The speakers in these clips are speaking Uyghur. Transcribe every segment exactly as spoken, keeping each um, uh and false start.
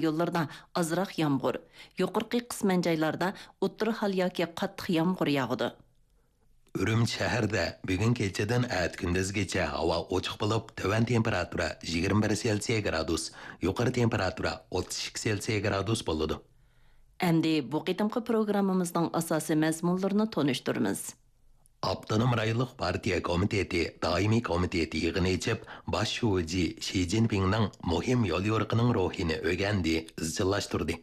رايونلىرىدا ئازراق يامغۇر، يۇقىرىقى قىسمەن جايلاردا ئوتتۇرا ھال ياكى قاتتىق يامغۇر ياغىدۇ. ئۈرۈمچى شەھىرىدە بۈگۈن كېچىدىن ئەتە كۈندۈزگىچە ھاۋا ئوچۇق بولۇپ، تۆۋەن تېمپېراتۇرا يىگىرمە بىر سېلسىيە گرادۇس، يۇقىرى تېمپېراتۇرا ئوتتۇز ئىككى سېلسىيە گرادۇس بولىدۇ. ئەمدى بۇ قېتىمقى پروگراممىمىزنىڭ ئاساسىي مەزمۇنلىرىنى تونۇشتۇرىمىز. ئاپتونوم رايونلۇق پارتىيە كومىتېتى دائىمىي كومىتېتى يىغىنى ئېچىپ، باش شۇجى شى جىنپىڭنىڭ مۇھىم يوليورۇقىنىڭ روھىنى ئۆگەندى، ئىزچىللاشتۇردى.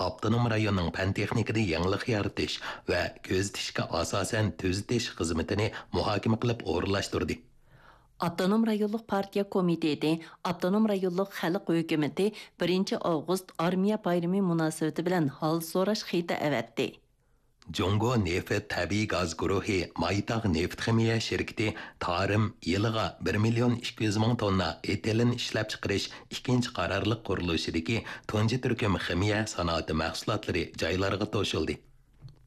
ئاپتونوم رايوننىڭ پەن-تېخنىكىدا يېڭىلىق يارىتىش ۋە كۆزىتىشكە ئاساسەن تۈزىتىش خىزمىتىنى مۇھاكىمە قىلىپ ئورۇنلاشتۇردى. ئاپتونوم رايونلۇق پارتىيە كومىتېتى ئاپتونوم رايونلۇق خەلق ھۆكۈمىتى بىرىنچى ئاۋغۇست ئارمىيە بايرىمى مۇناسىۋىتى بىلەن ھال سوراش خېتى ئەۋەتتى. جۇڭگو نېفىت تەبىئىي گاز گۇرۇھى مايتاغ نېفىت خىمىيە شىركىتى تارىم يىلىغا بىر مىليون ئىككى يۈز مىڭ توننا ئېتىلېن ئىشلەپچىقىرىش ئىككىنچى قارارلىق قۇرۇلۇشىدىكى تۇنجى تۈركۈم خىمىيە سانائىتى مەھسۇلاتلىرى جايلارغا توشۇلدى.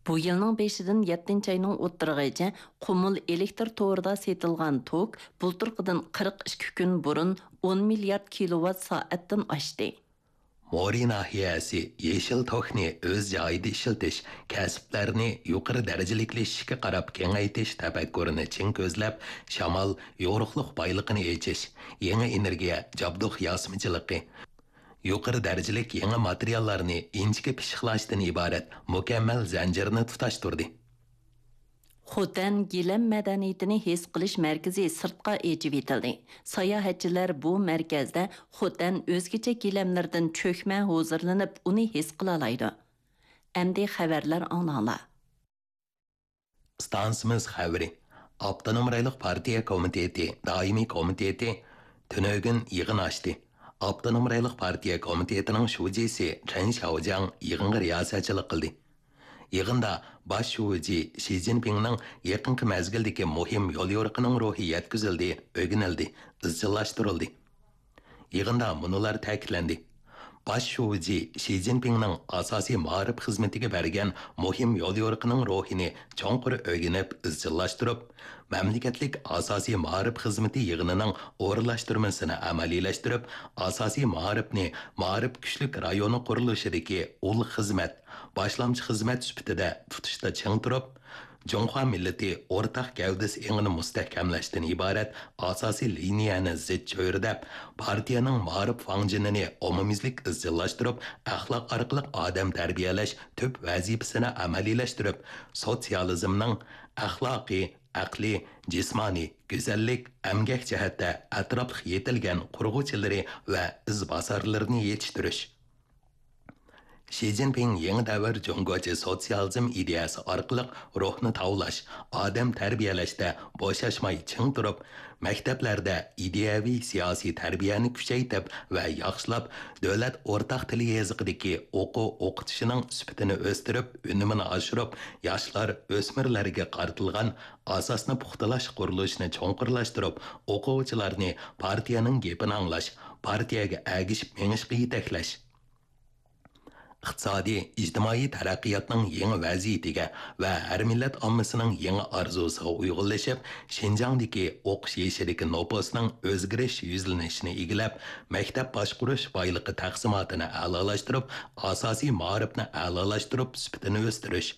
بۇ يىلنىڭ بېشىدىن يەتتىنچى ئاينىڭ ئوتتۇرىغىچە قۇمۇل ئېلېكتر تورىدا سېتىلغان توك بۇلتۇرقىدىن قىرىق ئىككى كۈن بۇرۇن ئون مىليارد كىلوۋات سائەتتىن ئاشتى. مورى ناھىيەسى يېشىل توكنى ئۆز جايىدا ئىشلىتىش، كەسىپلەرنى يۇقىرى دەرىجىلىكلىشىشكە قاراپ كېڭەيتىش تەپەككۇرىنى چىڭ كۆزلەپ، شامال، يورۇقلۇق بايلىقىنى ئېچىش، يېڭى ئېنېرگىيە، جابدۇق ياسىمىچىلىقى، يۇقىرى دەرىجىلىك يېڭى ماتېرىياللارنى ئىنچىكە پىششىقلاشتىن ئىبارەت مۇكەممەل زەنجىرنى تۇتاشتۇردى. خوتەن گىلەم مەدەنىيىتىنى ھېس قىلىش مەركىزى سىرتقا ئېچىۋېتىلدى. ساياھەتچىلەر بۇ مەركەزدە خوتەن ئۆزگىچە گىلەملىرىدىن چۆكمە ھۇزۇرلىنىپ، ئۇنى ھېس قىلالايدۇ. ئەمدى خەۋەرلەر ئاڭلاڭلار. ئىستانسىمىز خەۋىرى. ئاپتونوم رايونلۇق پارتىيە كومىتېتى دائىمىي كومىتېتى تۈنۈگۈن يىغىن ئاچتى. ئاپتونوم رايونلۇق پارتىيە كومىتېتىنىڭ شۇجىسى چېن شياۋجياڭ يىغىنغا رىياسەتچىلىك قىلدى. يىغىندا باش شۇجى شى جىنپىڭنىڭ يېقىنقى مەزگىلدىكى مۇھىم يوليورۇقىنىڭ روھى يەتكۈزۈلدى، ئۆگىنىلدى، ئىزچىللاشتۇرۇلدى. يىغىندا مۇنۇلار تەكىتلەندى: باش شۇجى شى جىنپىڭنىڭ ئاساسىي مائارىپ خىزمىتىگە بەرگەن مۇھىم يوليورۇقىنىڭ روھىنى چوڭقۇر ئۆگىنىپ ئىزچىللاشتۇرۇپ، مەملىكەتلىك ئاساسىي مائارىپ خىزمىتى يىغىنىنىڭ ئورۇنلاشتۇرمىسىنى ئەمەلىيلەشتۈرۈپ، ئاساسىي مائارىپنى مائارىپ كۈچلۈك رايونى قۇرۇلۇشىدىكى ئۇل خىزمەت، باشلامچى خىزمەت سۈپىتىدە تۇتۇشتا چىڭ تۇرۇپ، جۇڭخۇا مىللىتى ئورتاق گەۋدىسى ئېڭىنى مۇستەھكەملەشتىن ئىبارەت ئاساسىي لىنىيەنى زىچ چۆرىدەپ، پارتىيەنىڭ مائارىپ فاڭجېنىنى ئومۇميۈزلۈك ئىزچىللاشتۇرۇپ، ئەخلاق ئارقىلىق ئادەم تەربىيەلەش تۈپ ۋەزىپىسىنى ئەمەلىيلەشتۈرۈپ، سوتسىيالىزمنىڭ ئەخلاقىي، ئەقلىي، جىسمانىي، گۈزەللىك، ئەمگەك جەھەتتە ئەتراپلىق يېتىلگەن قۇرغۇچىلىرى ۋە ئىزباسارلىرىنى يېتىشتۈرۈش. شى جىنپىڭ يېڭى دەۋر جۇڭگوچە سوتسىيالىزم ئىدىيەسى ئارقىلىق روھنى تاۋلاش، ئادەم تەربىيەلەشتە بوشاشماي چىڭ تۇرۇپ، مەكتەپلەردە ئىدىيەۋى سىياسىي تەربىيەنى كۈچەيتىپ ۋە ياخشىلاپ، دۆلەت ئورتاق تىل يېزىقىدىكى ئوقۇ ئوقۇتۇشىنىڭ سۈپىتىنى ئۆستۈرۈپ، ئۈنۈمىنى ئاشۇرۇپ، ياشلار، ئۆسمۈرلەرگە قارىتىلغان ئاساسنى پۇختىلاش قۇرۇلۇشىنى چوڭقۇرلاشتۇرۇپ، ئوقۇغۇچىلارنى پارتىيەنىڭ گېپىنى ئاڭلاش، پارتىيەگە ئەگىشىپ مېڭىشقا يېتەكلەش. ئىقتىسادىي، ئىجتىمائىي تەرەققىياتنىڭ يېڭى ۋەزىيىتىگە ۋە ھەر مىللەت ئاممىسىنىڭ يېڭى ئارزۇسىغا ئۇيغۇنلىشىپ، شىنجاڭدىكى ئوقۇش يېشىدىكى نوپۇسنىڭ ئۆزگىرىش يۈزلىنىشىنى ئىگىلەپ، مەكتەپ باشقۇرۇش بايلىقى تەقسىماتىنى ئەلالاشتۇرۇپ، ئاساسىي مائارىپنى ئەلالاشتۇرۇپ، سۈپىتىنى ئۆستۈرۈش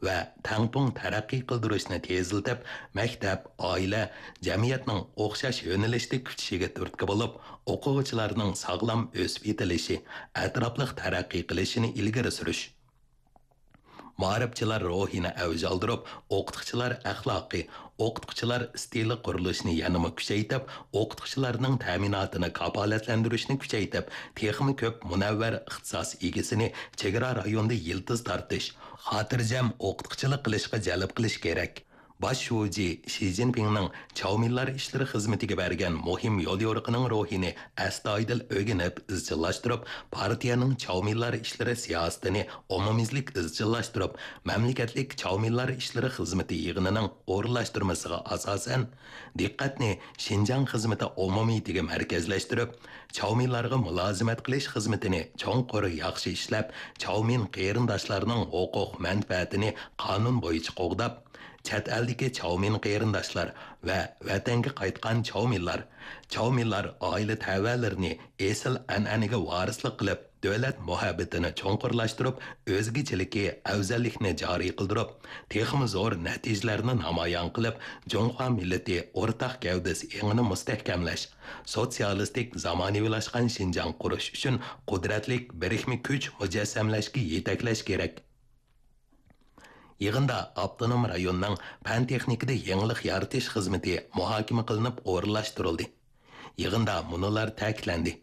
ۋە تەڭپۇڭ تەرەققىي قىلدۇرۇشنى تېزلىتىپ، مەكتەپ، ئائىلە، جەمئىيەتنىڭ ئوخشاش يۆنىلىشتە كۈچىشىگە تۈرتكە بولۇپ، ئوقۇغۇچىلارنىڭ ساغلام ئۆسۈپ يېتىلىشى، ئەتراپلىق تەرەققىي قىلىشىنى ئىلگىرى سۈرۈش. مائارىپچىلار روھىنى ئەۋج ئالدۇرۇپ، ئوقۇتقۇچىلار ئەخلاقى، ئوقۇتقۇچىلار ئىستىلى قۇرۇلۇشىنى يەنىمۇ كۈچەيتىپ، ئوقۇتقۇچىلارنىڭ تەمىناتىنى كاپالەتلەندۈرۈشنى كۈچەيتىپ، تېخىمۇ كۆپ مۇنەۋۋەر ئىختىساس ئىگىسىنى چېگرا رايوندا يىلتىز تارتىش، خاتىرجەم ئوقۇتقۇچىلىق قىلىشقا جەلپ قىلىش كېرەك. باش شۇجى شى جىنپىڭنىڭ چاۋمىنلار ئىشلىرى خىزمىتىگە بەرگەن مۇھىم يوليورۇقىنىڭ روھىنى ئەستايىدىل ئۆگىنىپ، ئىزچىللاشتۇرۇپ، پارتىيەنىڭ چاۋمىنلار ئىشلىرى سىياسىتىنى ئومۇميۈزلۈك ئىزچىللاشتۇرۇپ، مەملىكەتلىك چاۋمىنلار ئىشلىرى خىزمىتى يىغىنىنىڭ ئورۇنلاشتۇرمىسىغا ئاساسەن، دىققەتنى شىنجاڭ خىزمىتى ئومۇمىيىتىگە مەركەزلەشتۈرۈپ، چاۋمىنلارغا مۇلازىمەت قىلىش خىزمىتىنى چوڭقۇر ياخشى ئىشلەپ، چاۋمىن قېرىنداشلارنىڭ ھوقۇق مەنپەئەتىنى قانۇن بويىچە قوغداپ، چەت ئەلدىكى چاۋمىن قېرىنداشلار ۋە ۋەتەنگە قايتقان چاۋمىنلار، چاۋمىنلار ئائىلە تەۋەلىرىنى ئېسىل ئەنئەنىگە ۋارىسلىق قىلىپ، دۆلەت مۇھەببىتىنى چوڭقۇرلاشتۇرۇپ، ئۆزگىچىلىكى، ئەۋزەللىكنى جارى قىلدۇرۇپ، تېخىمۇ زور نەتىجىلەرنى نامايان قىلىپ، جۇڭخۇا مىللىتى ئورتاق گەۋدىسى ئېڭىنى مۇستەھكەملەش، سوتسىيالىستىك زامانىۋىلاشقان شىنجاڭ قۇرۇش ئۈچۈن قۇدرەتلىك بىرىكمە كۈچ مۇجەسسەملەشكە يېتەكلەش كېرەك. يىغىندا ئاپتونوم رايوننىڭ پەن-تېخنىكىدا يېڭىلىق يارىتىش خىزمىتى مۇھاكىمە قىلىنىپ ئورۇنلاشتۇرۇلدى. يىغىندا مۇنۇلار تەكىتلەندى: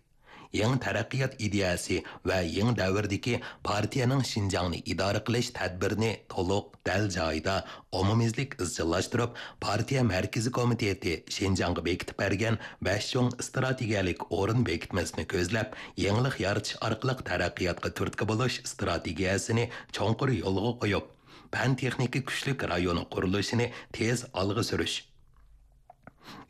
يېڭى تەرەققىيات ئىدىيەسى ۋە يېڭى دەۋردىكى پارتىيەنىڭ شىنجاڭنى ئىدارە قىلىش تەدبىرىنى تولۇق، دەل جايىدا، ئومۇميۈزلۈك ئىزچىللاشتۇرۇپ، پارتىيە مەركىزىي كومىتېتى شىنجاڭغا بېكىتىپ بەرگەن بەش چوڭ ئىستراتېگىيەلىك ئورۇن بېكىتمىسىنى كۆزلەپ، يېڭىلىق يارىتىش ئارقىلىق تەرەققىياتقا تۈرتكە بولۇش ئىستراتېگىيەسىنى چوڭقۇر يولغا قويۇپ، پەن-تېخنىكا كۈچلۈك رايونى قۇرۇلۇشىنى تېز ئالغا سۈرۈش،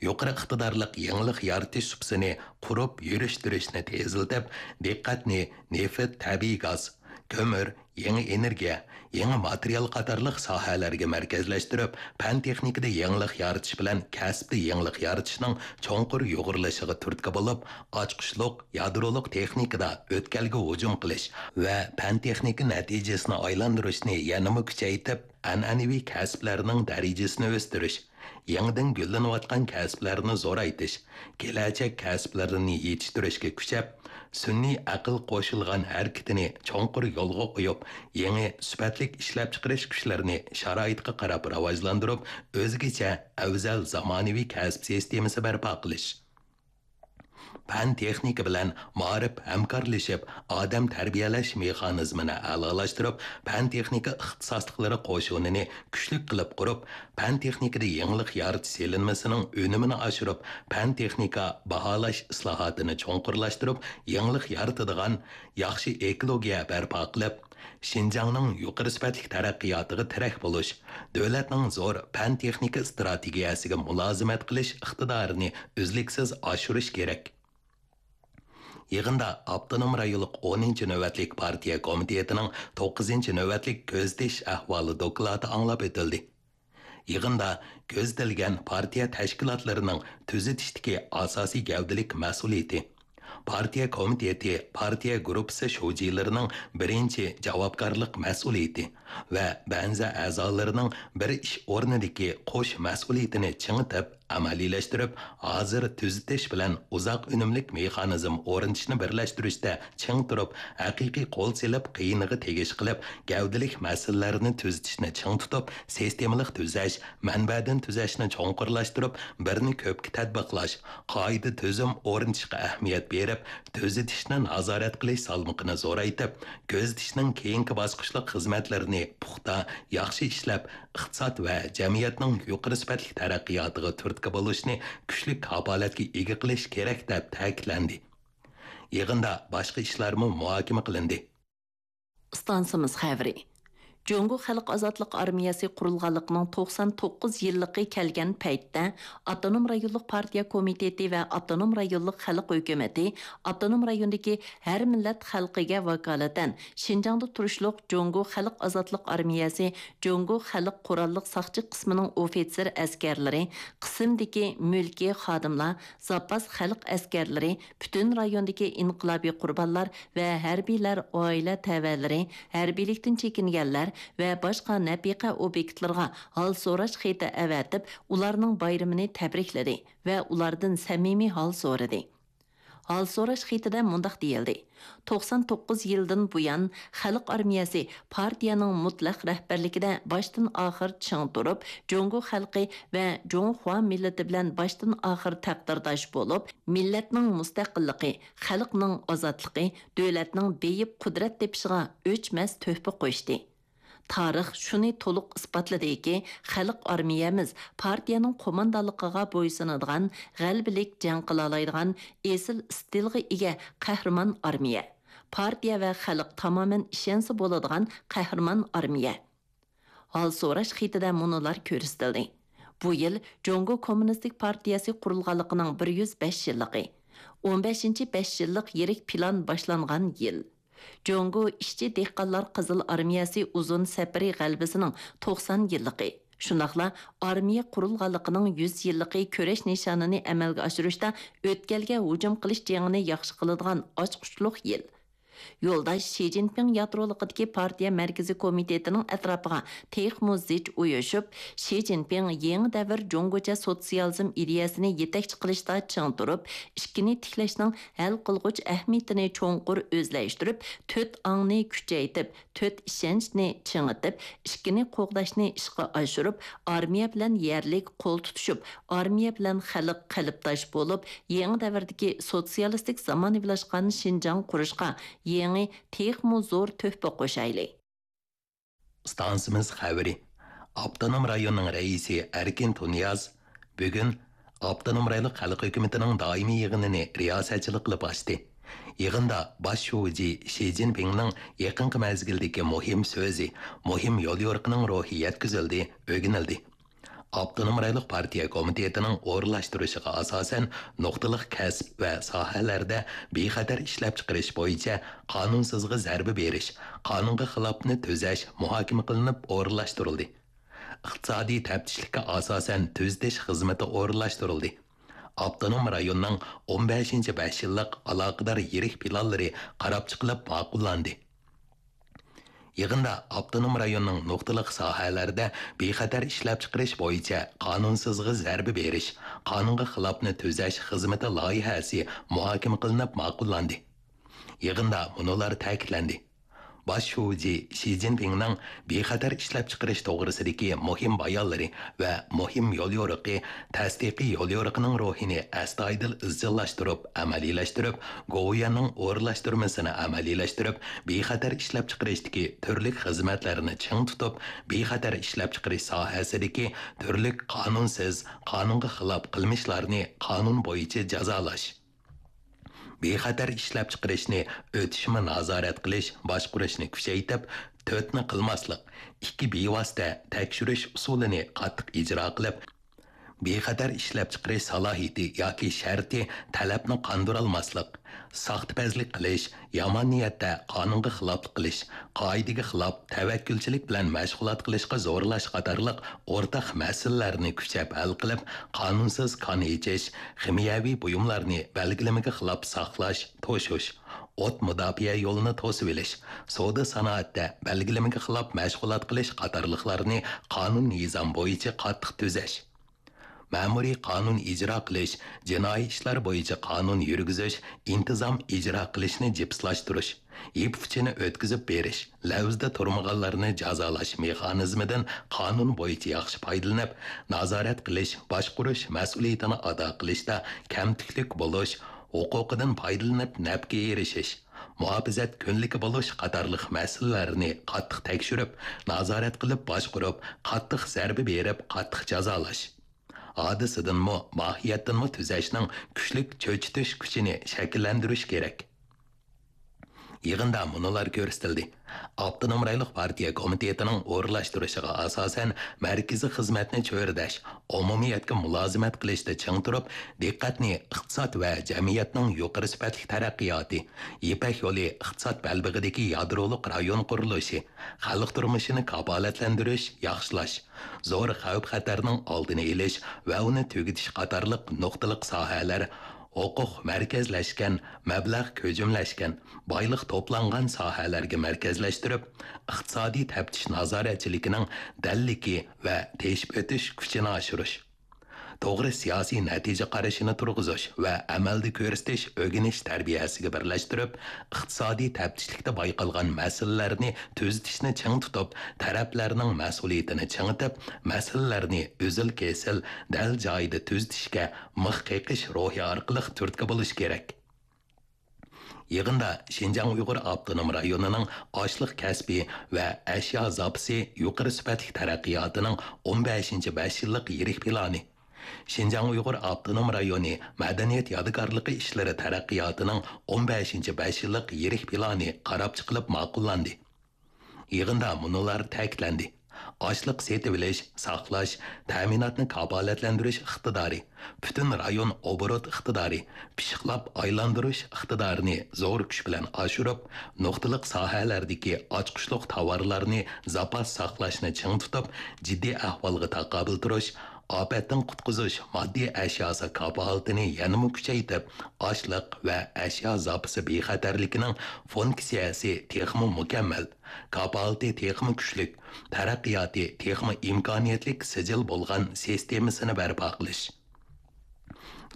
يۇقىرى ئىقتىدارلىق يېڭىلىق يارىتىش سۇپىسىنى قۇرۇپ يۈرۈشتۈرۈشنى تېزلىتىپ، دىققەتنى نېفىت، تەبىئىي گاز، كۆمۈر، يېڭى ئېنېرگىيە، يېڭى ماتېرىيال قاتارلىق ساھەلەرگە مەركەزلەشتۈرۈپ، پەن-تېخنىكىدا يېڭىلىق يارىتىش بىلەن كەسىپتە يېڭىلىق يارىتىشنىڭ چوڭقۇر يۇغۇرۇلۇشىغا تۈرتكە بولۇپ، ئاچقۇچلۇق يادرولۇق تېخنىكىدا ئۆتكەلگە ھۇجۇم قىلىش ۋە پەن-تېخنىكا نەتىجىسىنى ئايلاندۇرۇشنى يەنىمۇ كۈچەيتىپ، ئەنئەنىۋى كەسىپلەرنىڭ دەرىجىسىنى ئۆستۈرۈش، يېڭىدىن گۈللىنىۋاتقان كەسىپلەرنى زورايتىش، كېلەچەك كەسىپلىرىنى يېتىشتۈرۈشكە كۈچەپ، سۈنئىي ئەقىل قوشۇلغان ھەرىكىتىنى چوڭقۇر يولغا قويۇپ، يېڭى سۈپەتلىك ئىشلەپچىقىرىش كۈچلىرىنى شارائىتقا قاراپ راۋاجلاندۇرۇپ، ئۆزگىچە، ئەۋزەل زامانىۋى كەسىپ سىستېمىسى بەرپا قىلىش. پەن-تېخنىكا بىلەن مائارىپ ھەمكارلىشىپ، ئادەم تەربىيەلەش مېخانىزمىنى ئەلالاشتۇرۇپ، پەن-تېخنىكا ئىختىساسلىقلىرى قوشۇنىنى كۈچلۈك قىلىپ قۇرۇپ، پەن-تېخنىكىدا يېڭىلىق يارىتىش سېلىنمىسىنىڭ ئۈنۈمىنى ئاشۇرۇپ، پەن-تېخنىكا باھالاش ئىسلاھاتىنى چوڭقۇرلاشتۇرۇپ، يېڭىلىق يارىتىدىغان ياخشى ئېكولوگىيە بەرپا قىلىپ، شىنجاڭنىڭ يۇقىرى سۈپەتلىك تەرەققىياتىغا تىرەك بولۇش، دۆلەتنىڭ زور پەن-تېخنىكا ئىستراتېگىيەسىگە مۇلازىمەت قىلىش ئىقتىدارىنى ئۈزلۈكسىز ئاشۇرۇش كېرەك. يىغىندا ئاپتونوم رايونلۇق ئونىنچى نۆۋەتلىك پارتىيە كومىتېتىنىڭ توققۇزىنچى نۆۋەتلىك كۆزىتىش ئەھۋالى دوكلاتى ئاڭلاپ ئۆتۈلدى. يىغىندا كۆزىتىلگەن پارتىيە تەشكىلاتلىرىنىڭ تۈزىتىشتىكى ئاساسىي گەۋدىلىك مەسئۇلىيىتى، پارتىيە كومىتېتى، پارتىيە گۇرۇپپىسى شۇجىلىرىنىڭ بىرىنچى جاۋابكارلىق مەسئۇلىيىتى ۋە بەنزە ئەزالىرىنىڭ بىر ئىش ئورنىدىكى قوش مەسئۇلىيىتىنى چىڭىتىپ، ئەمەلىيلەشتۈرۈپ، ھازىر تۈزىتىش بىلەن ئۇزاق ئۈنۈملۈك مېخانىزم ئورنىتىشنى بىرلەشتۈرۈشتە چىڭ تۇرۇپ، ھەقىقىي قول سېلىپ، قىيىنىغا تېگىش قىلىپ، گەۋدىلىك مەسىلىلەرنى تۈزىتىشنى چىڭ تۇتۇپ، سىستېمىلىق تۈزەش، مەنبەدىن تۈزەشنى چوڭقۇرلاشتۇرۇپ، بىرنى كۆپكە تەتبىقلاش، قائىدە-تۈزۈم ئورنىتىشقا ئەھمىيەت بېرىپ، تۈزىتىشنى نازارەت قىلىش سالمىقىنى زورايتىپ، كۆزىتىشنىڭ كېيىنكى باسقۇچلۇق خىزمەتلىرىنى پۇختا، ياخشى ئىشلەپ، ئىقتىساد ۋە جەمئىيەتنىڭ يۇقىرى سۈپەتلىك تەرەققىياتىغا تۈرتكە بولۇشنى كۈچلۈك كاپالەتكە ئىگە قىلىش كېرەك، دەپ تەكىتلەندى. يىغىندا باشقا ئىشلارمۇ مۇھاكىمە قىلىندى. ئىستانسىمىز خەۋىرى. جۇڭگو خەلق ئازادلىق ئارمىيەسى قۇرۇلغانلىقىنىڭ توقسان توققۇز يىللىقى كەلگەن پەيتتە، ئاپتونوم رايونلۇق پارتىيە كومىتېتى ۋە ئاپتونوم رايونلۇق خەلق ھۆكۈمىتى ئاپتونوم رايوندىكى ھەر مىللەت خەلقىگە ۋاكالىتەن شىنجاڭدا تۇرۇشلۇق جۇڭگو خەلق ئازادلىق ئارمىيەسى جۇڭگو خەلق قوراللىق ساقچى قىسمىنىڭ ئوفىتسېر ئەسكەرلىرى، قىسىمدىكى مۈلكىي خادىملار، زاپاس خەلق ئەسكەرلىرى، پۈتۈن رايوندىكى ئىنقىلابىي قۇربانلار ۋە ھەربىيلەر ئائىلە تەۋەلىرى، ھەربىيلىكتىن چېكىنگەنلەر ۋە باشقا نەپىقە ئوبيېكتلىرىغا ھال سوراش خېتى ئەۋەتىپ، ئۇلارنىڭ بايرىمىنى تەبرىكلىدى ۋە ئۇلاردىن سەمىمىي ھال سورىدى. ھال سوراش خېتىدە مۇنداق دېيىلدى: توقسان توققۇز يىلدىن بۇيان، خەلق ئارمىيەسى پارتىيەنىڭ مۇتلەق رەھبەرلىكىدە باشتىن ئاخىر چىڭ تۇرۇپ، جۇڭگو خەلقى ۋە جۇڭخۇا مىللىتى بىلەن باشتىن ئاخىر تەقدىرداش بولۇپ، مىللەتنىڭ مۇستەقىللىقى، خەلقنىڭ ئازادلىقى، دۆلەتنىڭ بېيىپ قۇدرەت تېپىشىغا ئۆچمەس تۆھپە قوشتى. تارىخ شۇنى تولۇق ئىسپاتلىدىكى، خەلق ئارمىيەمىز پارتىيەنىڭ قوماندانلىقىغا بويسۇنىدىغان، غەلىبىلىك جەڭ قىلالايدىغان ئېسىل ئىستىلغا ئىگە قەھرىمان ئارمىيە. پارتىيە ۋە خەلق تامامەن ئىشەنسە بولىدىغان قەھرىمان ئارمىيە. ھال سوراش خېتىدە مۇنۇلار كۆرسىتىلدى: بۇ يىل جۇڭگو كوممۇنىستىك پارتىيەسى قۇرۇلغانلىقىنىڭ بىر يۈز بەش يىللىقى، ئون بەشىنچى بەش يىللىق يىرىك پىلان باشلانغان يىل. جۇڭگو ئىشچى دېھقانلار قىزىل ئارمىيەسى ئۇزۇن سەپىرى غەلىبىسىنىڭ توقسان يىللىقى، شۇنداقلا ئارمىيە قۇرۇلغانلىقىنىڭ يۈز يىللىقى كۈرەش نىشانىنى ئەمەلگە ئاشۇرۇشتا ئۆتكەلگە ھۇجۇم قىلىش جېڭىنى ياخشى قىلىدىغان ئاچقۇچلۇق يىل. يولداش شى جىنپىڭ يادرولۇقىدىكى پارتىيە مەركىزىي كومىتېتىنىڭ ئەتراپىغا تېخىمۇ زىچ ئۇيۇشۇپ، شى جىنپىڭ يېڭى دەۋر جۇڭگوچە سوتسىيالىزم ئىدىيەسىنى يېتەكچى قىلىشتا چىڭ تۇرۇپ، ئىككىنى تىكلەشنىڭ ھەل قىلغۇچ ئەھمىيىتىنى چوڭقۇر ئۆزلەشتۈرۈپ، تۆت ئاڭنى كۈچەيتىپ، تۆت ئىشەنچنى چىڭىتىپ، ئىككىنى قوغداشنى ئىشقا ئاشۇرۇپ، ئارمىيە بىلەن يەرلىك قول تۇتۇشۇپ، ئارمىيە بىلەن خەلق قەلبداش بولۇپ، يېڭى دەۋردىكى سوتسىيالىستىك زامانىۋىلاشقان شىنجاڭ قۇرۇشقا يېڭى، تېخىمۇ زور تۆھپە قوشايلى. ئىستانسىمىز خەۋىرى. ئاپتونوم رايوننىڭ رەئىسى ئەركىن تۇنىياز بۈگۈن ئاپتونوم رايونلۇق خەلق ھۆكۈمىتىنىڭ دائىمىي يىغىنىنى رىياسەتچىلىك قىلىپ ئاچتى. يىغىندا باش شۇجى شى جىنپىڭنىڭ يېقىنقى مەزگىلدىكى مۇھىم سۆزى، مۇھىم يوليورۇقىنىڭ روھى يەتكۈزۈلدى، ئۆگىنىلدى. ئاپتونوم رايونلۇق پارتىيە كومىتېتىنىڭ ئورۇنلاشتۇرۇشىغا ئاساسەن، نۇقتىلىق كەسىپ ۋە ساھەلەردە بىخەتەر ئىشلەپچىقىرىش بويىچە قانۇنسىزغا زەربە بېرىش، قانۇنغا خىلاپنى تۈزەش مۇھاكىمە قىلىنىپ ئورۇنلاشتۇرۇلدى. ئىقتىسادىي تەپتىشلىككە ئاساسەن تۈزىتىش خىزمىتى ئورۇنلاشتۇرۇلدى. ئاپتونوم رايوننىڭ ئون بەشىنچى بەش يىللىق ئالاقىدار يىرىك پىلانلىرى قاراپ چىقىلىپ ماقۇللاندى. يىغىندا ئاپتونوم رايوننىڭ نۇقتىلىق ساھەلەردە بىخەتەر ئىشلەپچىقىرىش بويىچە قانۇنسىزغا زەربە بېرىش، قانۇنغا خىلاپنى تۈزەش خىزمىتى لايىھەسى مۇھاكىمە قىلىنىپ ماقۇللاندى. يىغىندا مۇنۇلار تەكىتلەندى. باش شۇجى شى جىنپىڭنىڭ بىخەتەر ئىشلەپچىقىرىش توغرىسىدىكى مۇھىم بايانلىرى ۋە مۇھىم يوليورۇقى تەستىقىي يوليورۇقىنىڭ روھىنى ئەستايىدىل ئىزچىللاشتۇرۇپ ئەمەلىيلەشتۈرۈپ، گوۋۇيۈەننىڭ ئورۇنلاشتۇرمىسىنى ئەمەلىيلەشتۈرۈپ، بىخەتەر ئىشلەپچىقىرىشتىكى تۈرلۈك خىزمەتلەرنى چىڭ تۇتۇپ، بىخەتەر ئىشلەپچىقىرىش ساھەسىدىكى تۈرلۈك قانۇنسىز، قانۇنغا خىلاپ قىلمىشلارنى قانۇن بويىچە جازالاش. بىخەتەر ئىشلەپچىقىرىشنى ئۆتۈشمە نازارەت قىلىش، باشقۇرۇشنى كۈچەيتىپ، تۆتنى قىلماسلىق، ئىككى بىۋاسىتە تەكشۈرۈش ئۇسۇلىنى قاتتىق ئىجرا قىلىپ، بىخەتەر ئىشلەپچىقىرىش سالاھىيىتى ياكى شەرتى تەلەپنى قاندۇرالماسلىق، ساختىپەزلىك قىلىش، يامان نىيەتتە قانۇنغا خىلاپلىق قىلىش، قائىدىگە خىلاپ تەۋەككۈلچىلىك بىلەن مەشغۇلات قىلىشقا زورلاش قاتارلىق ئورتاق مەسىلىلەرنى كۈچەپ ھەل قىلىپ، قانۇنسىز كان ئېچىش، خىمىيەۋى بۇيۇملارنى بەلگىلىمىگە خىلاپ ساقلاش، توشۇش، ئوت مۇداپىئە يولىنى توسۇۋېلىش، سودا سانائەتتە بەلگىلىمىگە خىلاپ مەشغۇلات قىلىش قاتارلىقلارنى قانۇن نىزام بويىچە قاتتىق تۈزەش. مەمۇرىي قانۇن ئىجرا قىلىش، جىنايى ئىشلار بويىچە قانۇن يۈرگۈزۈش، ئىنتىزام ئىجرا قىلىشنى جىپسلاشتۇرۇش، يىپ ئۇچىنى ئۆتكۈزۈپ بېرىش، لەۋزىدە تۇرمىغانلارنى جازالاش مېخانىزمىدىن قانۇن بويىچە ياخشى پايدىلىنىپ، نازارەت قىلىش، باشقۇرۇش مەسئۇلىيىتىنى ئادا قىلىشتا كەمتۈكلۈك بولۇش، ھوقۇقىدىن پايدىلىنىپ نەپكە ئېرىشىش، مۇھاپىزەت كۈنلۈكى بولۇش قاتارلىق مەسىلىلەرنى قاتتىق تەكشۈرۈپ، نازارەت قىلىپ باشقۇرۇپ، قاتتىق زەربە بېرىپ، قاتتىق جازالاش. ھادىسىدىنمۇ، ماھىيەتتىنمۇ تۈزەشنىڭ كۈچلۈك چۆچۈتۈش كۈچىنى شەكىللەندۈرۈش كېرەك. يىغىندا مۇنۇلار كۆرسىتىلدى. ئاپتونوم رايونلۇق پارتىيە كومىتېتىنىڭ ئورۇنلاشتۇرۇشىغا ئاساسەن، مەركىزىي خىزمەتنى چۆرىدەش، ئومۇمىيەتكە مۇلازىمەت قىلىشتا چىڭ تۇرۇپ، دىققەتنى ئىقتىساد ۋە جەمئىيەتنىڭ يۇقىرى سۈپەتلىك تەرەققىياتى، يىپەك يولى ئىقتىساد بەلبېغىدىكى يادرولۇق رايون قۇرۇلۇشى، خەلق تۇرمۇشىنى كاپالەتلەندۈرۈش، ياخشىلاش، زور خەۋپ-خەتەرنىڭ ئالدىنى ئېلىش ۋە ئۇنى تۈگىتىش قاتارلىق نۇقتىلىق ساھەلەر، ھوقۇق مەركەزلەشكەن، مەبلەغ كۆجۈملەشكەن، بايلىق توپلانغان ساھەلەرگە مەركەزلەشتۈرۈپ، ئىقتىسادىي تەپتىش نازارەتچىلىكىنىڭ دەللىكى ۋە تېشىپ ئۆتۈش كۈچىنى ئاشۇرۇش. توغرا سىياسىي نەتىجە قارىشىنى تۇرغۇزۇش ۋە ئەمەلدە كۆرسىتىش ئۆگىنىش تەربىيەسىگە بىرلەشتۈرۈپ، ئىقتىسادىي تەپتىشلىكتە بايقالغان مەسىلىلەرنى تۈزىتىشنى چىڭ تۇتۇپ، تەرەپلەرنىڭ مەسئۇلىيىتىنى چىڭىتىپ، مەسىلىلەرنى ئۈزۈل-كېسىل، دەل جايىدا تۈزىتىشكە مىخ قېقىش روھى ئارقىلىق تۈرتكە بولۇش كېرەك. يىغىندا شىنجاڭ ئۇيغۇر ئاپتونوم رايونىنىڭ ئاشلىق كەسپى ۋە ئەشيا زاپىسى يۇقىرى سۈپەتلىك تەرەققىياتىنىڭ ئون بەشىنچى بەش يىللىق يىرىك پىلانى، شىنجاڭ ئۇيغۇر ئاپتونوم رايونى مەدەنىيەت يادىكارلىقى ئىشلىرى تەرەققىياتىنىڭ ئون بەشىنچى بەش يىللىق يىرىك پىلانى قاراپ چىقىلىپ ماقۇللاندى. يىغىندا مۇنۇلار تەكىتلەندى: ئاشلىق سېتىۋېلىش، ساقلاش، تەمىناتنى كاپالەتلەندۈرۈش ئىقتىدارى، پۈتۈن رايون ئوبوروت ئىقتىدارى، پىششىقلاپ ئايلاندۇرۇش ئىقتىدارىنى زور كۈچ بىلەن ئاشۇرۇپ، نۇقتىلىق ساھەلەردىكى ئاچقۇچلۇق تاۋارلارنى زاپاس ساقلاشنى چىڭ تۇتۇپ، جىددىي ئەھۋالغا تاقابىل تۇرۇش، ئاپەتتىن قۇتقۇزۇش ماددىي ئەشياسى كاپالىتىنى يەنىمۇ كۈچەيتىپ، ئاشلىق ۋە ئەشيا زاپىسى بىخەتەرلىكىنىڭ فۇنكسىيەسى تېخىمۇ مۇكەممەل، كاپالىتى تېخىمۇ كۈچلۈك، تەرەققىياتى تېخىمۇ ئىمكانىيەتلىك سىجىل بولغان سىستېمىسىنى بەرپا قىلىش.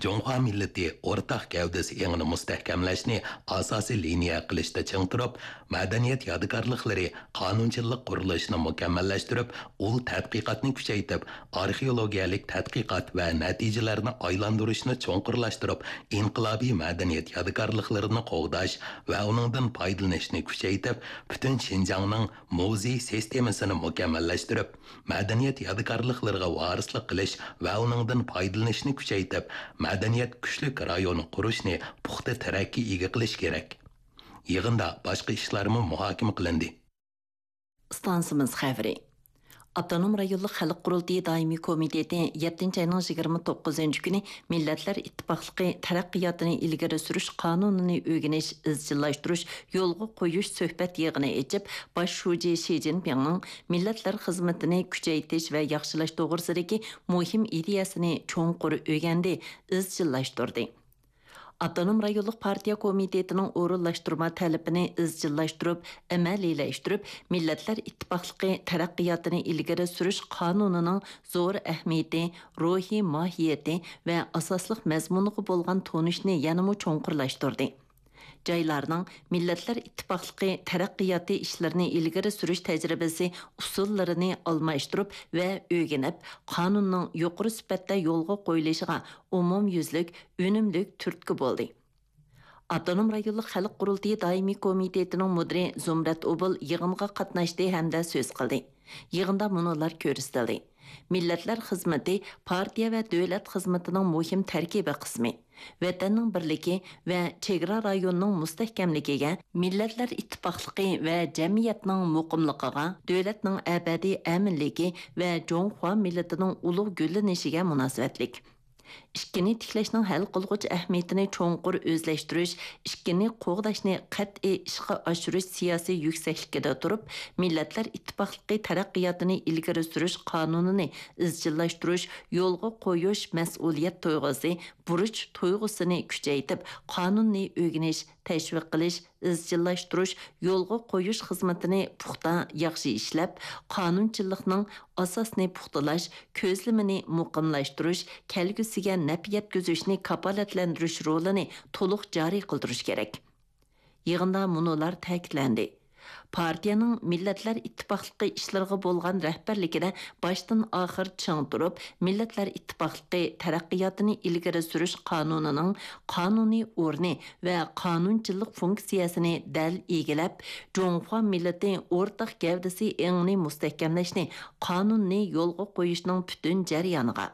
جۇڭخۇا مىللىتى ئورتاق گەۋدىسى ئېڭىنى مۇستەھكەملەشنى ئاساسىي لىنىيە قىلىشتا چىڭ تۇرۇپ، مەدەنىيەت يادىكارلىقلىرى قانۇنچىلىق قۇرۇلۇشىنى مۇكەممەللەشتۈرۈپ، ئۇل تەتقىقاتنى كۈچەيتىپ، ئارخېئولوگىيەلىك تەتقىقات ۋە نەتىجىلەرنى ئايلاندۇرۇشنى چوڭقۇرلاشتۇرۇپ، ئىنقىلابىي مەدەنىيەت يادىكارلىقلىرىنى قوغداش ۋە ئۇنىڭدىن پايدىلىنىشنى كۈچەيتىپ، پۈتۈن شىنجاڭنىڭ مۇزېي سىستېمىسىنى مۇكەممەللەشتۈرۈپ، مەدەنىيەت يادىكارلىقلىرىغا ۋارىسلىق قىلىش ۋە ئۇنىڭدىن پايدىلىنىشنى كۈچەيتىپ، مەدەنىيەت كۈچلۈك رايونى قۇرۇشنى پۇختا تىرەككە ئىگە قىلىش كېرەك. يىغىندا باشقا ئىشلارمۇ مۇھاكىمە قىلىندى. ئىستانسىمىز خەۋىرى. ئاپتونوم رايونلۇق خەلق قۇرۇلتىيى دائىمىي كومىتېتى يەتتىنچى ئاينىڭ يىگىرمە توققۇزىنچى كۈنى مىللەتلەر ئىتتىپاقلىقى تەرەققىياتىنى ئىلگىرى سۈرۈش قانۇنىنى ئۆگىنىش، ئىزچىللاشتۇرۇش، يولغا قويۇش سۆھبەت يىغىنى ئېچىپ، باش شۇجى شى جىنپىڭنىڭ مىللەتلەر خىزمىتىنى كۈچەيتىش ۋە ياخشىلاش توغرىسىدىكى مۇھىم ئىدىيەسىنى چوڭقۇر ئۆگەندى، ئىزچىللاشتۇردى. ئاپتونوم رايونلۇق پارتىيە كومىتېتىنىڭ ئورۇنلاشتۇرما تەلىپىنى ئىزچىللاشتۇرۇپ، ئەمەلىيلەشتۈرۈپ، مىللەتلەر ئىتتىپاقلىقى تەرەققىياتىنى ئىلگىرى سۈرۈش قانۇنىنىڭ زور ئەھمىيىتى، روھىي ماھىيىتى ۋە ئاساسلىق مەزمۇنىغا بولغان تونۇشنى يەنىمۇ چوڭقۇرلاشتۇردى. جايلارنىڭ مىللەتلەر ئىتتىپاقلىقى تەرەققىياتى ئىشلىرىنى ئىلگىرى سۈرۈش تەجرىبىسى ئۇسۇللىرىنى ئالماشتۇرۇپ ۋە ئۆگىنىپ، قانۇننىڭ يۇقىرى سۈپەتتە يولغا قويۇلۇشىغا ئومۇميۈزلۈك، ئۈنۈملۈك تۈرتكە بولدى. ئاپتونوم رايونلۇق خەلق قۇرۇلتىيى دائىمىي كومىتېتىنىڭ مۇدىرى زۇمرەت ئوبۇل يىغىنغا قاتناشتى ھەمدە سۆز قىلدى. يىغىندا مۇنۇلار كۆرسىتىلدى: مىللەتلەر خىزمىتى پارتىيە ۋە دۆلەت خىزمىتىنىڭ مۇھىم تەركىبىي قىسمى. ۋەتەننىڭ بىرلىكى ۋە چېگرا رايونىنىڭ مۇستەھكەملىكىگە، مىللەتلەر ئىتتىپاقلىقى ۋە جەمئىيەتنىڭ مۇقىملىقىغا، دۆلەتنىڭ ئەبەدىي ئەمىنلىكى ۋە جۇڭخۇا مىللىتىنىڭ ئۇلۇغ گۈللىنىشىگە مۇناسىۋەتلىك. ئىككىنى تىكلەشنىڭ ھەل قىلغۇچ ئەھمىيىتىنى چوڭقۇر ئۆزلەشتۈرۈش، ئىككىنى قوغداشنى قەتئىي ئىشقا ئاشۇرۇش سىياسىي يۈكسەكلىكىدە تۇرۇپ، مىللەتلەر ئىتتىپاقلىقى تەرەققىياتىنى ئىلگىرى سۈرۈش قانۇنىنى ئىزچىللاشتۇرۇش، يولغا قويۇش مەسئۇلىيەت تۇيغۇسى، بۇرچ تۇيغۇسىنى كۈچەيتىپ، قانۇننى ئۆگىنىش، تەشۋىق قىلىش، ئىزچىللاشتۇرۇش، يولغا قويۇش خىزمىتىنى پۇختا، ياخشى ئىشلەپ، قانۇنچىلىقنىڭ ئاساسىنى پۇختىلاش، كۆزلىمىنى مۇقىملاشتۇرۇش، كەلگۈسىگە نەپ يەتكۈزۈشنى كاپالەتلەندۈرۈش رولىنى تولۇق جارى قىلدۇرۇش كېرەك. يىغىندا مۇنۇلار تەكىتلەندى: پارتىيەنىڭ مىللەتلەر ئىتتىپاقلىقى ئىشلىرىغا بولغان رەھبەرلىكىدە باشتىن ئاخىر چىڭ تۇرۇپ، مىللەتلەر ئىتتىپاقلىقى تەرەققىياتىنى ئىلگىرى سۈرۈش قانۇنىنىڭ قانۇنىي ئورنى ۋە قانۇنچىلىق فۇنكسىيەسىنى دەل ئىگىلەپ، جۇڭخۇا مىللىتى ئورتاق گەۋدىسى ئېڭىنى مۇستەھكەملەشنى قانۇننى يولغا قويۇشنىڭ پۈتۈن جەريانىغا،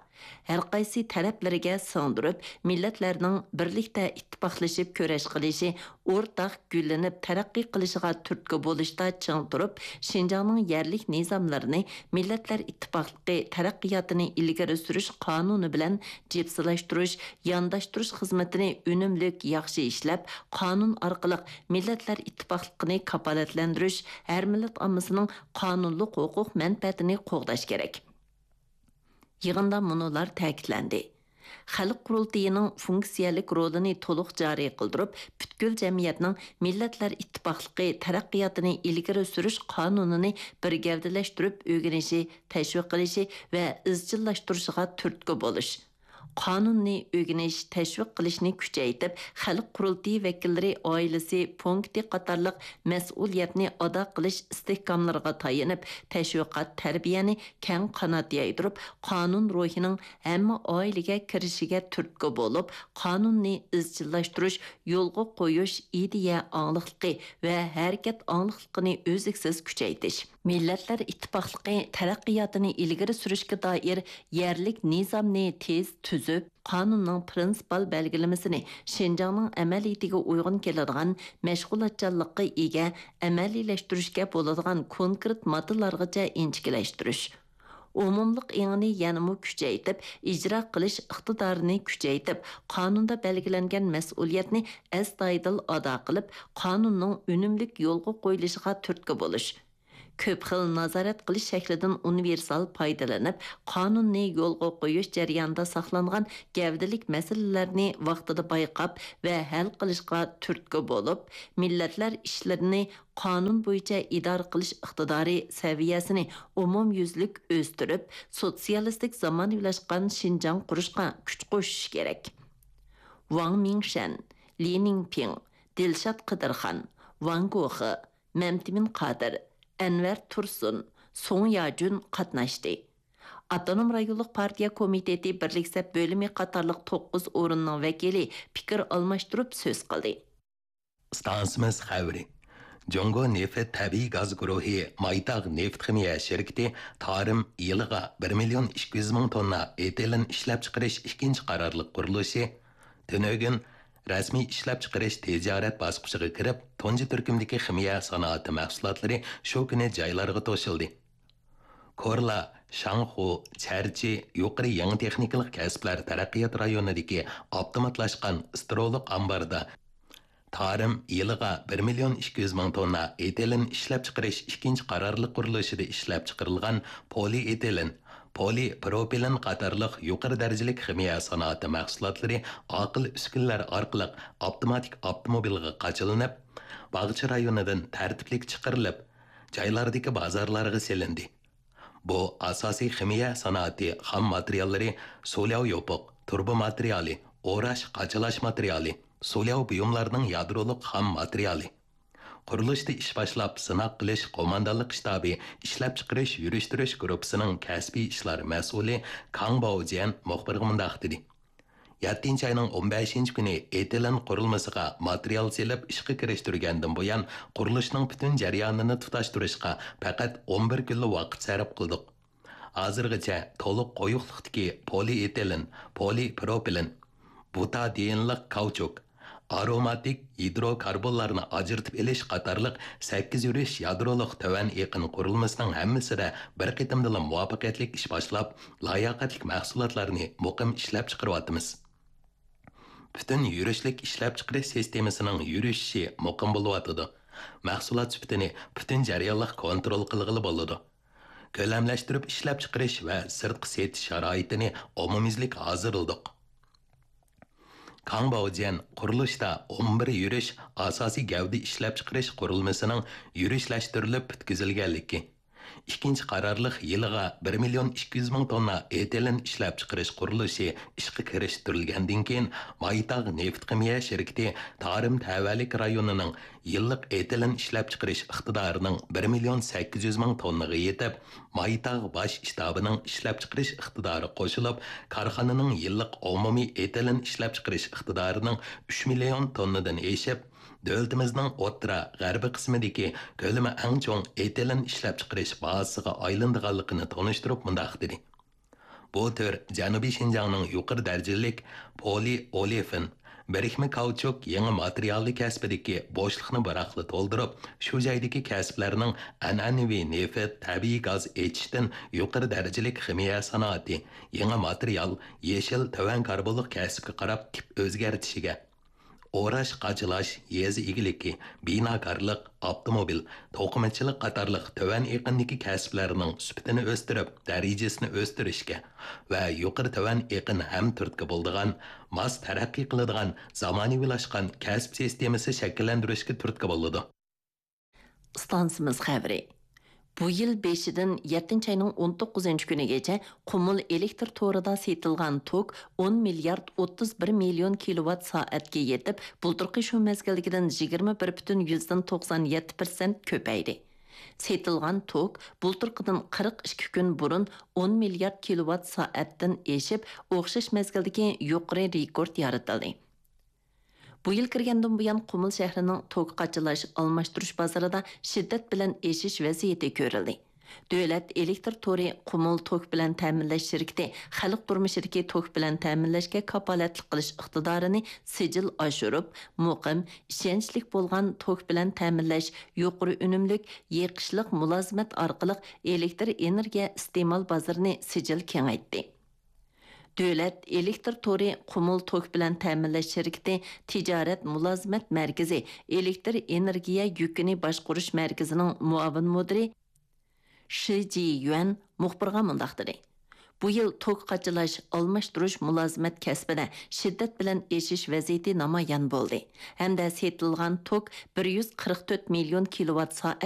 ھەرقايسى تەرەپلىرىگە سىڭدۈرۈپ، مىللەتلەرنىڭ بىرلىكتە ئىتتىپاقلىشىپ كۈرەش قىلىشى، ئورتاق گۈللىنىپ تەرەققىي قىلىشىغا تۈرتكە بولۇشتا چىڭ تۇرۇپ، شىنجاڭنىڭ يەرلىك نىزاملىرىنى، مىللەتلەر ئىتتىپاقلىقى تەرەققىياتىنى ئىلگىرى سۈرۈش قانۇنى بىلەن جىپسىلاشتۇرۇش، يانداشتۇرۇش خىزمىتىنى ئۈنۈملۈك ياخشى ئىشلەپ، قانۇن ئارقىلىق مىللەتلەر ئىتتىپاقلىقىنى كاپالەتلەندۈرۈش، ھەر مىللەت ئاممىسىنىڭ قانۇنلۇق ھوقۇق مەنپەئەتىنى قوغداش كېرەك. يىغىندا مۇنۇلار تەكىتلەندى: خەلق قۇرۇلتىيىنىڭ فۇنكسىيەلىك رولىنى تولۇق جارى قىلدۇرۇپ، پۈتكۈل جەمئىيەتنىڭ مىللەتلەر ئىتتىپاقلىقى تەرەققىياتىنى ئىلگىرى سۈرۈش قانۇنىنى بىر گەۋدىلەشتۈرۈپ ئۆگىنىشى، تەشۋىق قىلىشى ۋە ئىزچىللاشتۇرۇشىغا تۈرتكە بولۇش. قانۇننى ئۆگىنىش، تەشۋىق قىلىشنى كۈچەيتىپ، خەلق قۇرۇلتىيى ۋەكىللىرى ئائىلىسى پونكىتى قاتارلىق مەسئۇلىيەتنى ئادا قىلىش ئىستىھكاملىرىغا تايىنىپ، تەشۋىقات، تەربىيەنى كەڭ قانات يايدۇرۇپ، قانۇن روھىنىڭ ھەممە ئائىلىگە كىرىشىگە تۈرتكە بولۇپ، قانۇننى ئىزچىللاشتۇرۇش، يولغا قويۇش، ئىدىيە ئاڭلىقلىقى ۋە ھەرىكەت ئاڭلىقلىقىنى ئۈزلۈكسىز كۈچەيتىش. مىللەتلەر ئىتتىپاقلىقى تەرەققىياتىنى ئىلگىرى سۈرۈشكە دائىر يەرلىك نىزامنى تېز تۈزۈپ، قانۇننىڭ پىرىنسىپال بەلگىلىمىسىنى شىنجاڭنىڭ ئەمەلىيىتىگە ئۇيغۇن كېلىدىغان، مەشغۇلاتچانلىققا ئىگە، ئەمەلىيلەشتۈرۈشكە بولىدىغان كونكرېت ماددىلارغىچە ئىنچىكىلەشتۈرۈش. ئومۇملۇق ئېڭىنى يەنىمۇ كۈچەيتىپ، ئىجرا قىلىش ئىقتىدارىنى كۈچەيتىپ، قانۇندا بەلگىلەنگەن مەسئۇلىيەتنى ئەستايىدىل ئادا قىلىپ، قانۇننىڭ ئۈنۈملۈك يولغا قويۇلۇشىغا تۈرتكە بولۇش. كۆپ خىل نازارەت قىلىش شەكلىدىن ئۇنىۋېرسال پايدىلىنىپ، قانۇننى يولغا قويۇش جەريانىدا ساقلانغان گەۋدىلىك مەسىلىلەرنى ۋاقتىدا بايقاپ ۋە ھەل قىلىشقا تۈرتكە بولۇپ، مىللەتلەر ئىشلىرىنى قانۇن بويىچە ئىدارە قىلىش ئىقتىدارى سەۋىيەسىنى ئومۇميۈزلۈك ئۆستۈرۈپ، سوتسىيالىستىك زامانىۋىلاشقان شىنجاڭ قۇرۇشقا كۈچ قوشۇشى كېرەك. ۋاڭ مىڭشەن، لى نىڭپىڭ، دىلشات قىدىرخان، ۋاڭ گوخې، مەمتىمىن قادىر، ئەنۋەر تۇرسۇن، سۇڭ ياجۈن قاتناشتى. ئاپتونوم رايونلۇق پارتىيە كومىتېتى بىرلىك سەپ بۆلۈمى قاتارلىق توققۇز ئورۇننىڭ ۋەكىلى پىكىر ئالماشتۇرۇپ سۆز قىلدى. ئىستانسىمىز خەۋىرى. جۇڭگو نېفىت تەبىئىي گاز گۇرۇھى مايتاغ نېفىت خىمىيە شىركىتى تارىم يىلىغا بىر مىليون ئىككى يۈز مىڭ توننا ئېتىلېن ئىشلەپچىقىرىش ئىككىنچى قارارلىق قۇرۇلۇشى تۈنۈگۈن رەسمىي ئىشلەپچىقىرىش تىجارەت باسقۇچىغا كىرىپ، تۇنجى تۈركۈمدىكى خىمىيە سانائىتى مەھسۇلاتلىرى شۇ كۈنى جايلارغا توشۇلدى. كورلا، شاڭخۇ، چەرچى يۇقىرى يېڭى تېخنىكىلىق كەسىپلەر تەرەققىيات رايونىدىكى ئاپتوماتلاشقان سترولۇق ئامباردا تارىم يىلىغا بىر مىليون ئىككى يۈز مىڭ توننا ئېتىلېن ئىشلەپچىقىرىش ئىككىنچى قارارلىق قۇرۇلۇشىدا ئىشلەپچىقىرىلغان پولىئېتىلېن، پولىپروپىلېن قاتارلىق يۇقىرى دەرىجىلىك خىمىيە سانائىتى مەھسۇلاتلىرى ئاقىل ئۈسكۈنىلەر ئارقىلىق ئاپتوماتىك ئاپتوموبىلغا قاچىلىنىپ، باغچە رايونىدىن تەرتىپلىك چىقىرىلىپ، جايلاردىكى بازارلارغا سېلىندى. بۇ ئاساسىي خىمىيە سانائىتى خام ماتېرىياللىرى سۇلياۋ يوپۇق، تۇرۇبا ماتېرىيالى، ئوراش، قاچىلاش ماتېرىيالى، سۇلياۋ بۇيۇملارنىڭ يادرولۇق خام ماتېرىيالى. قۇرۇلۇشتا ئىش باشلاپ، سىناق قىلىش قوماندانلىق شتابى ئىشلەپچىقىرىش يۈرۈشتۈرۈش گۇرۇپپىسىنىڭ كەسپىي ئىشلار مەسئۇلى كاڭ باۋجيەن مۇخبىرغا مۇنداق دېدى: يەتتىنچى ئاينىڭ ئون بەشىنچى كۈنى ئېتىلېن قۇرۇلمىسىغا ماتېرىيال سېلىپ ئىشقا كىرىشتۈرگەندىن بۇيان، قۇرۇلۇشنىڭ پۈتۈن جەريانىنى تۇتاشتۇرۇشقا پەقەت ئون بىر كۈنلا ۋاقىت سەرپ قىلدۇق. ھازىرغىچە تولۇق قويۇقلۇقتىكى پولىئېتىلېن، پولىپروپىلېن، بۇتادىئىنلىق كاۋچۇك، ئاروماتىك گىدروكاربونلارنى ئاجرىتىپ ئېلىش قاتارلىق سەككىز يۈرۈش يادرولۇق تۆۋەن ئېقىن قۇرۇلمىسىنىڭ ھەممىسىدە بىر قېتىمدىلا مۇۋەپپەقىيەتلىك ئىش باشلاپ، لاياقەتلىك مەھسۇلاتلارنى مۇقىم ئىشلەپچىقىرىۋاتىمىز. پۈتۈن يۈرۈشلۈك ئىشلەپچىقىرىش سىستېمىسىنىڭ يۈرۈشۈشى مۇقىم بولۇۋاتىدۇ. مەھسۇلات سۈپىتىنى پۈتۈن جەريانلىق كونترول قىلغىلى بولىدۇ. كۆلەملەشتۈرۈپ ئىشلەپچىقىرىش ۋە سىرتقا سېتىش شارائىتىنى ئومۇميۈزلۈك ھازىرلىدۇق. كاڭ باۋجيەن قۇرۇلۇشتا ئون بىر يۈرۈش ئاساسىي گەۋدە ئىشلەپچىقىرىش قۇرۇلمىسىنىڭ يۈرۈشلەشتۈرۈلۈپ پۈتكۈزۈلگەنلىكى، ئىككىنچى قارارلىق يىلىغا بىر مىليون ئىككى يۈز مىڭ توننا ئېتىلېن ئىشلەپچىقىرىش قۇرۇلۇشى ئىشقا كىرىشتۈرۈلگەندىن كېيىن، مايتاغ نېفىت خىمىيە شىركىتى تارىم تەۋەلىك رايونىنىڭ يىللىق ئېتىلېن ئىشلەپچىقىرىش ئىقتىدارىنىڭ بىر مىليون سەككىز يۈز مىڭ توننىغا يېتىپ، مايتاغ باش شتابىنىڭ ئىشلەپچىقىرىش ئىقتىدارى قوشۇلۇپ، كارخانىنىڭ يىللىق ئومۇمىي ئېتىلېن ئىشلەپچىقىرىش ئىقتىدارىنىڭ ئۈچ مىليون توننىدىن ئېشىپ، دۆلىتىمىزنىڭ ئوتتۇرا، غەربىي قىسمىدىكى كۆلىمى ئەڭ چوڭ ئېتىلېن ئىشلەپچىقىرىش بازىسىغا ئايلىنىدىغانلىقىنى تونۇشتۇرۇپ مۇنداق دېدى: بۇ تۈر جەنۇبىي شىنجاڭنىڭ يۇقىرى دەرىجىلىك پولىئولېفىن، بىرىكمە كاۋچۇك يېڭى ماتېرىيالى كەسپىدىكى بوشلۇقنى بىراقلا تولدۇرۇپ، شۇ جايدىكى كەسىپلەرنىڭ ئەنئەنىۋى نېفىت، تەبىئىي گاز ئېچىشتىن يۇقىرى دەرىجىلىك خىمىيە سانائىتى، يېڭى ماتېرىيال، يېشىل، تۆۋەن كاربونلۇق كەسىپكە قاراپ تىپ ئۆزگەرتىشىگە، ئوراش، قاچىلاش، يېزا ئىگىلىكى، بىناكارلىق، ئاپتوموبىل، توقۇمىچىلىق قاتارلىق تۆۋەن ئېقىندىكى كەسىپلەرنىڭ سۈپىتىنى ئۆستۈرۈپ، دەرىجىسىنى ئۆستۈرۈشكە ۋە يۇقىرى تۆۋەن ئېقىن ھەم تۈرتكە بولىدىغان، ماس تەرەققىي قىلىدىغان زامانىۋىلاشقان كەسىپ سىستېمىسى شەكىللەندۈرۈشكە تۈرتكە بولىدۇ. ئىستانسىمىز خەۋىرى. بۇ يىل بېشىدىن يەتتىنچى ئاينىڭ ئون توققۇزىنچى كۈنىگىچە قۇمۇل ئېلېكتر تورىدا سېتىلغان توك ئون مىليارد ئوتتۇز بىر مىليون كىلوۋات سائەتكە يېتىپ، بۇلتۇرقى شۇ مەزگىلدىكىدىن يىگىرمە بىر پۈتۈن يۈزدىن توقسان يەتتە پىرسەنت كۆپەيدى. سېتىلغان توك بۇلتۇرقىدىن قىرىق ئىككى كۈن بۇرۇن ئون مىليارد كىلوۋات سائەتتىن ئېشىپ، ئوخشاش مەزگىلدىكى يۇقىرى رېكورت يارىتىلدى. بۇ يىل كىرگەندىن بۇيان، قۇمۇل شەھىرىنىڭ توك قاچىلاش، ئالماشتۇرۇش بازىرىدا شىددەت بىلەن ئېشىش ۋەزىيىتى كۆرۈلدى. دۆلەت ئېلېكتر تورى قۇمۇل توك بىلەن تەمىنلەش شىركىتى خەلق تۇرمۇشىدىكى توك بىلەن تەمىنلەشكە كاپالەتلىك قىلىش ئىقتىدارىنى سىجىل ئاشۇرۇپ، مۇقىم، ئىشەنچلىك بولغان توك بىلەن تەمىنلەش، يۇقىرى ئۈنۈملۈك، يېقىشلىق مۇلازىمەت ئارقىلىق ئېلېكتر ئېنېرگىيە ئىستېمال بازىرىنى سىجىل كېڭەيتتى. دۆلەت ئېلېكتر تورى قۇمۇل توك بىلەن تەمىنلەش شىركىتى تىجارەت مۇلازىمەت مەركىزى ئېلېكتر ئېنېرگىيە يۈكىنى باشقۇرۇش مەركىزىنىڭ مۇئاۋىن مۇدىرى شى جىيۈەن مۇخبىرغا مۇنداق دېدى: بۇ يىل توك قاچىلاش، ئالماشتۇرۇش مۇلازىمەت كەسپىدە شىددەت بىلەن ئېشىش ۋەزىيىتى نامايان بولدى ھەمدە سېتىلغان توك بىر يۈز قىرىق تۆت مىليون كىلوۋات سائەت